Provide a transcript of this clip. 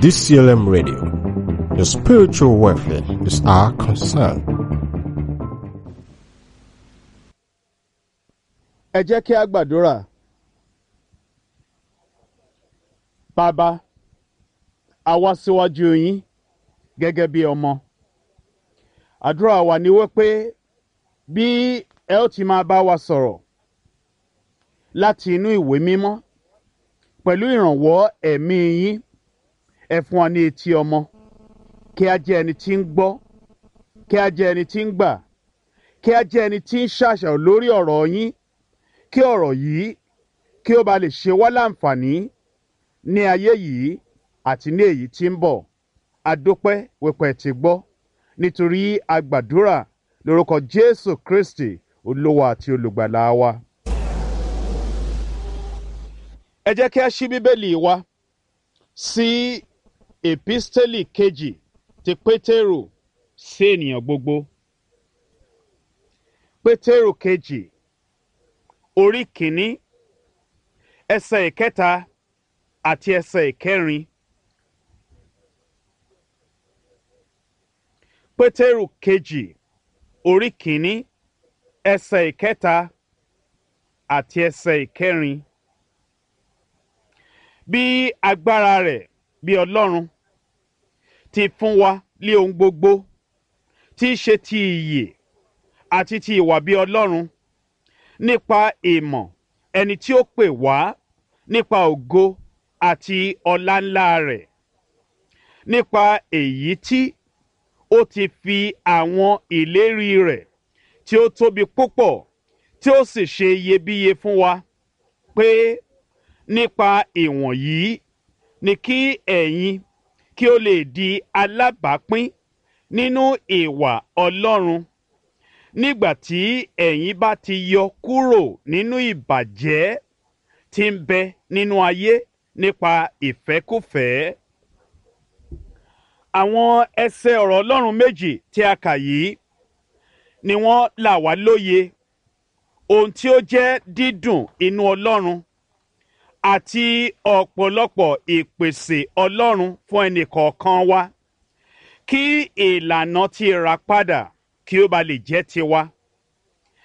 DCLM Radio. Your spiritual welfare is our concern. Ẹ jẹ́ kí a gbàdúrà. Bàbá, a wá síwájú yín gẹ́gẹ́ bí ọmọ. Àdúrà wa ni wípé bí ẹ ó ti máa bá wa sọ̀rọ̀ láti inú ìwé mímọ́ pẹ̀lú ìrànwọ́ ẹ̀mí yín, ẹ fún wa ní etí ọmọ, kí a jẹ́ ẹni tí ń gbọ́, kí a jẹ́ ẹni tí ń gbà, kí a jẹ́ ẹni tí ń ṣàṣàrò lórí ọ̀rọ̀ yín, kí ọ̀rọ̀ yìí kí ó ba lè ṣe wá láǹfààní ní ayé yìí àti ní èyí tí ń bọ̀. Adúpẹ́ wípé ẹ ti gbọ́, nítorí a gbàdúrà lórúkọ Jésù Kristi, Olúwa àti Olùgbàlà wa. Ẹ jẹ́ kí a ṣí Bíbélì wa sí Èpísítélì kejì ti Pétérù sí ènìyàn gbogbo. Pétérù kejì, orí kìíní, ẹsẹ̀ ìkẹta àti ẹsẹ̀ ìkẹrin. Pétérù kejì, orí kìíní, ẹsẹ̀ ìkẹta àti ẹsẹ̀ ìkẹrin. Bí agbára rẹ̀ bí Ọlọ́run ti fún wa lé ohun gbogbo tí í ṣe ti ìyè àti ti ìwà bí Ọlọ́run nípa ìmọ̀ ẹni tí ó pè wá nípa ògo àti ọlá ńlá rẹ̀, nípa èyí tí ó ti fi àwọn ìlérí rẹ̀ tí ó tóbi púpọ̀ tí ó sì ṣe iyebíye fún wa, pé nípa ìwọ̀nyí ni kí ẹ̀yin kí ó lè di alábàápín nínú ìwà Ọlọ́run, nígbà tí ẹ̀yin bá ti yọ kúrò nínú ìbàjẹ́ tí ń bẹ nínú ayé nípa ìfẹ́kúfẹ̀ẹ́. Àwọn ẹsẹ̀ ọ̀rọ̀ Ọlọ́run méjì tí a kà yìí ni wọ́n là wá lóye ohun tí ó jẹ́ dídùn inú Ọlọ́run àti ọ̀pọ̀lọpọ̀ ìpèsè Ọlọ́run fún ẹnì kọ̀ọ̀kan wa, kí ìlànà ti ìràpadà kí ó ba lè jẹ́ tiwa.